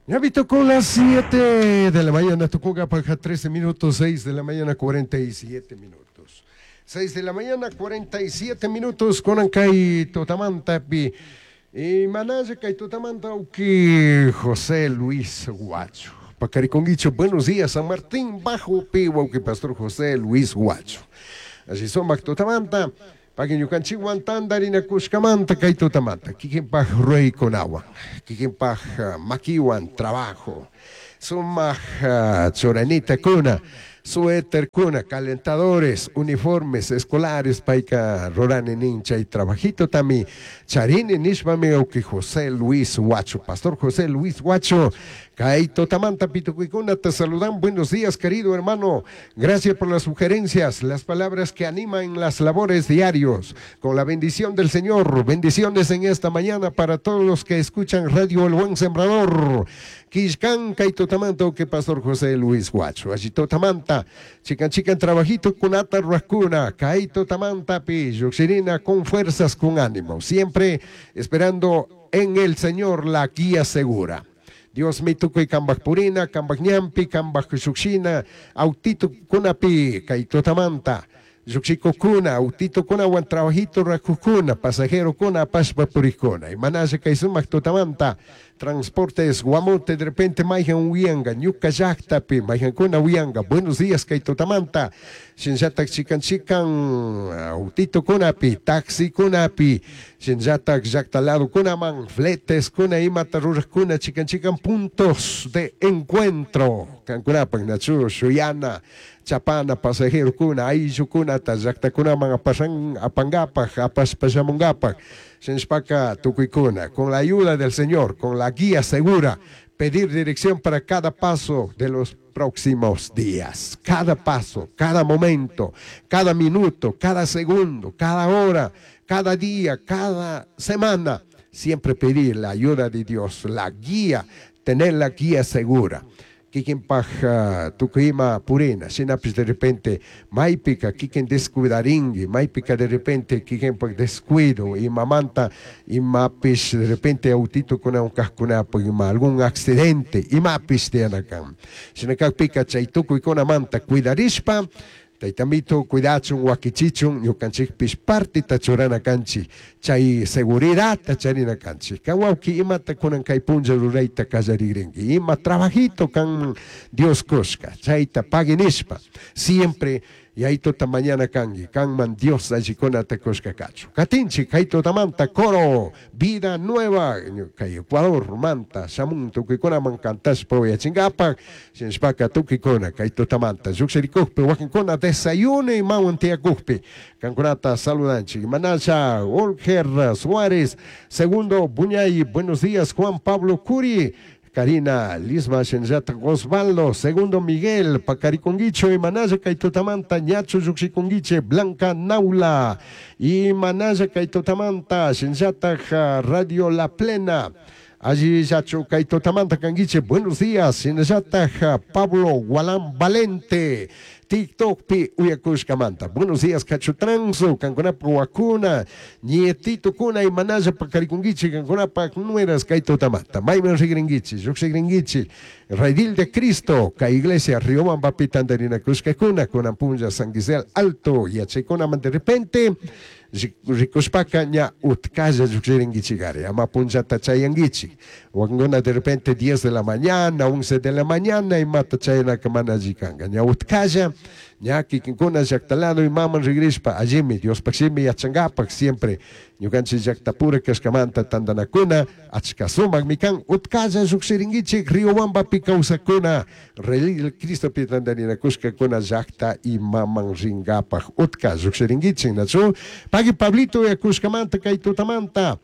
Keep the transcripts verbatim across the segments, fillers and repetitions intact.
Ñapi tocó las siete de la mañana, tocó paja trece minutos, seis de la mañana cuarenta y siete minutos. seis de la mañana cuarenta y siete minutos con kay tutamantapi. Y manaya kay tutamanta uki José Luis Guacho. Pacariconguicho, buenos días, San Martín Bajo pi wauki Pastor José Luis Guacho. Así sumak tutamanta. Pagui ñukanchikwan tantarinakushkamanta kay tutamanta. Kikinpaj ruraykunawan, kikinpaj makiwan trabajo. Sumak churanita kuna, suéter kuna, calentadores, uniformes escolares, payka rurani nin chay trabajito tami charini nishpami uki José Luis Huacho, Pastor José Luis Huacho, kay tutamanta pitukuykuna te saludan. Buenos días, querido hermano. Gracias por las sugerencias, las palabras que animan las labores diarios. Con la bendición del Señor, bendiciones en esta mañana para todos los que escuchan Radio El Buen Sembrador. Kishkan kay tutamanta que Pastor José Luis Huacho. Allí tutamanta, chikan chikan trabajito kunata rurakuna, kay tutamanta pi, lluqshirina con fuerzas, con ánimo. Siempre esperando en el Señor la guía segura. Dios mi tukuy kambaj purina, kambaj ñampi, kambaj lluqshina, autito kunapi, kay tutamanta. Lluqshikukuna, autito kunawan trabajito rurakukuna, pasajero kuna, apashpa purikuna. Y manaya kay sumak tutamanta, transportes Guamote, de repente mayhan uyanga, ñuka llaqtapi, mayhankuna uyanga. Buenos días kay tutamanta. Shinllatak chikan chikan autito kunapi, taxi kunapi, shinllatak llaqta lado kunaman, fletes kuna imata ruraqkuna, chikan chikan puntos de encuentro. Kankunapak nachu, shuyana, chapana, pasajero kuna, ayllukunata, llaqtakunaman apasan, apangapaj, apashpa shamungapak. Shinshpaka tukuykuna, con la ayuda del Señor, con la guía segura, pedir dirección para cada paso de los próximos días. Cada paso, cada momento, cada minuto, cada segundo, cada hora, cada día, cada semana. Siempre pedir la ayuda de Dios, la guía, tener la guía segura. Kikinpaj tukuy ima purina, shinapish de repente maypika kikin descuidarinki, maypika de repente kikinpaj descuido, imamanta imapish de repente autitukunawan kajkunapaj ima algún accidente, imapish tiyanakan. Shina kakpika chay tukuykunamanta cuidarishpa, Taytamito cuidachun, wakichichun, ñukanchikpish partita churana kanchik, chay seguridad charina kanchik. Kan wawki imata kunan kay punlla rurayta kallarigrinki, ima trabajito kan Dios kushka, chayta pagui nishpa, siempre Yayituta mañana kanki, kanman Dios allikunata kushka kachu. Katinchik, kay tutamanta, coro, Vida Nueva, kay Ecuador, manta, shamun, tukuykunaman kantashpa uyachinkapak, shinashpaka tukuykuna, kay tutamanta, llukshirikukpi, wakinkuna desayuno imawan tiyakukpi, kankunata saludanchik. Manasha, Olger Suárez, Segundo Buñay, buenos días, Juan Pablo Curi, Karina Lisma Shenjata Osvaldo, Segundo Miguel, Pacariconguicho y Manaya kay tutamanta, Ñacho Yuxiconguiche, Blanca Naula, y Manaya kay tutamanta, Shenjata Radio La Plena. Allí Yacho kay tutamanta kanguiche, buenos días, Shenjata Pablo Gualán Valente, TikTok pi uyakushkamanta. Buenos días, Cachutranzo, kankunapa wakuna, nietito kuna y manaya pacariconguiche, kankunapa nueras kay tutamanta. Mayman rigringuiche, lluqshigringuiche, Redil de Cristo, ka iglesia Riobamba pi tantarinakushkakuna, kunan punlla San Gisel Alto, yachaykunaman de repente, rikushpaka ña utkalla lluqshiringuichigari, ama punllata chayanguichi. Wakinkuna de repente diez de la mañana, once de la mañana, imata chayanaka mana alli kanka. Ña utkalla, ña kikinkuna llaqtalado imaman rigrishpa, allimi, Diospaj shimi yachankapak siempre, ñukanchik llaqtapura kashkamanta tantanakuna, achka sumakmi kan, utkalla lluqshiringuichik, Riobambapi kawsakuna, Redil Cristopi tantarinakushkakuna llaqta imaman rinkapak, utka lluqshiringuichik, nachu? Pagui Pablito yakushkamanta kay tutamanta.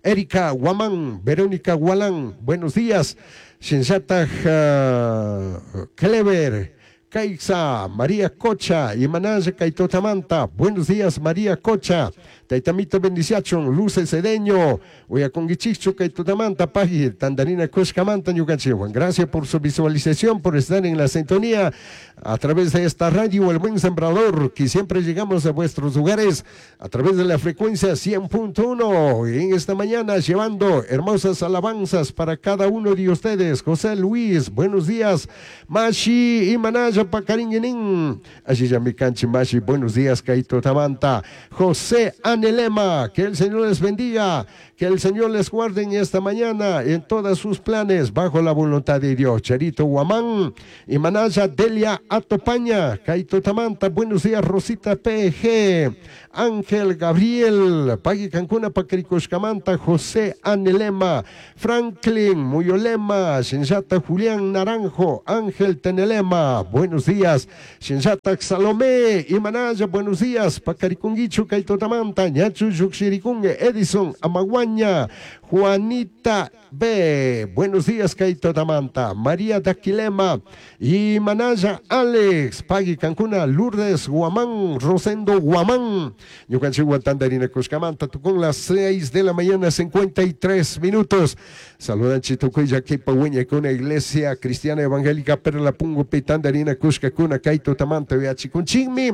Erika Guamán, Verónica Gualán, buenos días. Shinllataj uh, Clever, Caixa, María Cocha, Imanaya Kaitotamanta. Buenos días, María Cocha. Taitamito bendiciachon, Luce Cedeño. Uyakungichichu Kaitotamanta, Pagi, Tandarina Kushkamanta, Ñukanchiwan. Gracias por su visualización, por estar en la sintonía a través de esta radio El Buen Sembrador, que siempre llegamos a vuestros hogares a través de la frecuencia cien punto uno. Y en esta mañana llevando hermosas alabanzas para cada uno de ustedes. José Luis, buenos días. Mashi y Manaya Pacaringuenín. Allí ya mi canchi Mashi, buenos días, Kaito Tamanta. José Anelema, que el Señor les bendiga, que el Señor les guarde en esta mañana en todos sus planes, bajo la voluntad de Dios. Charito Guamán y Manaya Delia Atopaña, Kaito Tamanta, buenos días, Rosita P G, Ángel Gabriel, Pagui Cancuna, Pacricoscamanta, José Anelema, Franklin Muyolema, Shinjata Julián Naranjo, Ángel Tenelema, buenos días, Shinjata Salomé y Manaya, buenos días, Pacaricunguichu, Kaito Tamanta, Ñachu Yuxiricungue, Edison Amaguaña, Juanita B, buenos días, Kaito Tamanta, María Daquilema y Manaya Alex, Pagui Cancuna, Lourdes Guamán, Rosendo Guamán, Ñucanchigua Tandarina Cuscamanta, con las seis de la mañana, cincuenta y tres minutos. Saludan Chitucuya, Kipahueña, con la Iglesia Cristiana Evangélica Perla Pungo, Pitandarina Cuscacuna, Kaito Tamanta, Viachicunchigmi,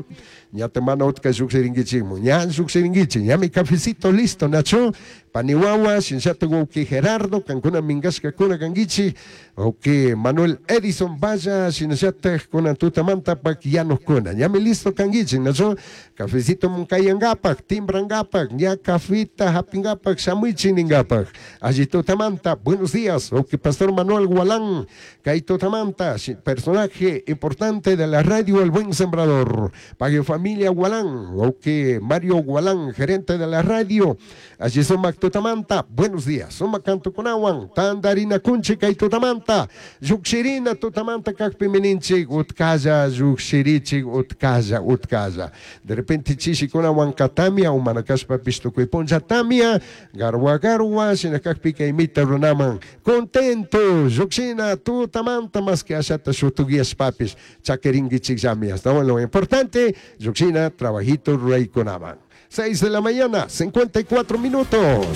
Ñatemana Otka Yuxiringuichimo, Ñan Yuxiringuichi, ñami cafecito listo, Nacho, Panihuahua, Shinchato Guki Gerardo, Cancuna Mingasca Cuna Canguichi, ok, Manuel Edison Vaya, Shinchate Cuna Tutamanta, Paquianos Cuna, ñami listo Canguichi, Nacho, cafecito Muncayangapac, Timbrangapac, ña cafita Japingapac, Shamuichi Ningapac, allí Tutamanta, buenos días, ok, Pastor Manuel Gualán, Kaito Tamanta, personaje importante de la radio El Buen Sembrador, Pague Familia Gualán, ok, Mario Gualán, gerente de la radio, allí son Tutamanta, buenos días, Suma Canto Kunawan, Tandarina Kunchi Kaito Tamanta, Yuxirina Tutamanta Kakpimininchi, Utkaya, Yuxirichi, Utkaya, Utkaya. De repente Chishi Kunawan Katamia, Umanakashpa Pistukuiponja Tamia, Garwa Garwa, Shinakakpika Imita Runaman, contento, Yuxina Tutamanta, más que Ashata Shutuguías Papis, Chaqueringui Chicamias. No, lo importante, Yuxina, trabajito Rey Kunaman. Seis de la mañana, cincuenta y cuatro minutos.